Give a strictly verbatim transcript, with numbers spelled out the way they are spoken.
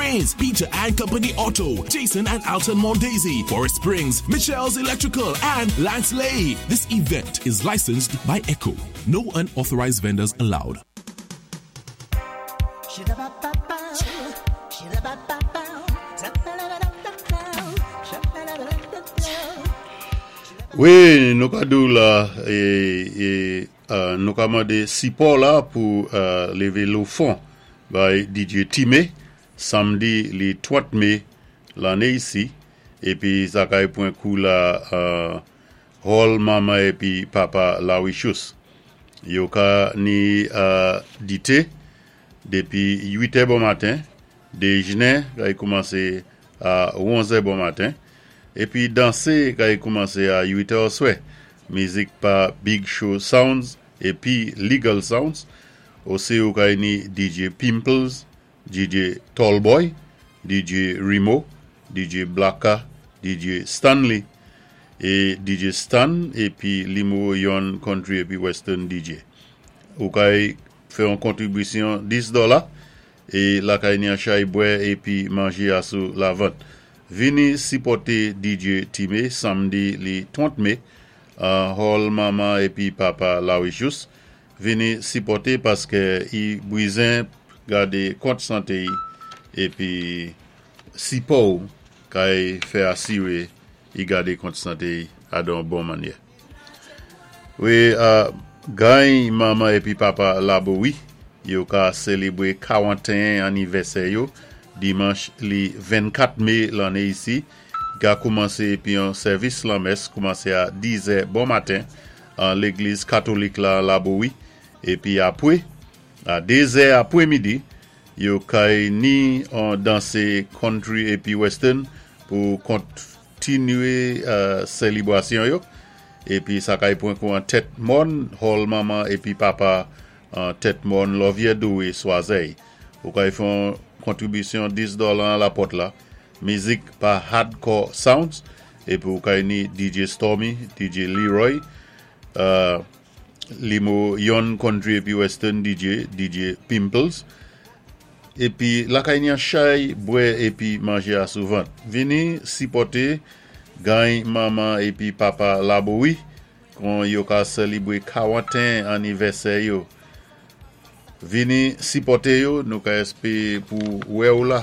Springs, Peter and Company Auto, Jason and Alton Mondesi, Forest Springs, Michelle's Electrical, and Lance Lay. This event is licensed by ECHO. No unauthorized vendors allowed. Wi, nou ka di-w la, é, é, euh, nou ka mandé sipò la pou euh, lévé lé fon bay D J Time, samdi li trant mé lanné isi, épi sa kay pwan kou la euh, hall Manman épi Papa Lawichous. Yo ka ni euh, dité dépi uit è bon maten, déjnen kay koumansé a onzè bon maten, épi dansé kay koumansé a uit è oswè. Mizik pa Big Show Sounds épi Legal Sounds. Osi ou kay ni D J Pimples, D J Tallboy, D J Remo, D J Blacka, D J Stanley é D J Stan épi Limo Yon Country épi Western D J. Ou kay fè yon kontribisyon dis dola é la kay ni an chay bwè épi manjé asou lavant. Vini sipòté D J Time samdi li trant mé an hall Manman épi Papa Lawichous. Vini sipòté paské i bizwen gadé kont santé i épi sipò kay fè asiré i gadé kont santé i adon bon mannyè. Wi, uh, gany Manman épi Papa Labowi, yo ka sélébwé karantéyen anivèsè yo, dimanch li vennkat mé lanné isi, ga koumansé épi yon sèvis lanmès koumansé a dizè bon maten an légliz katolik la Labowi, épi apwé, a dézè apwé midi, yo kay ni an dansé country épi western pou kontinué uh, sélébwasyon yo. Épi sa kay pwan kou an Tèt Mòn, hall Manman épi Papa an Tèt Mòn Lovyè Doué Swazey. Ou kay fè kontribisyon dis dola an la pòt la. Mizik pa Hardcore Sounds. Épi ou kay ni D J Stormy, D J Leroy, uh, Limo Yon Country épi Western D J, D J Pimples. Épi la kay ni an chay, bwè épi manjé asou vant. Vini sipòté gany Manman épi Papa Labowi kon yo ka sélébwé karantéyen anivèsè yo. Vini sipòté yo, nou ka èspé pou wè ou la.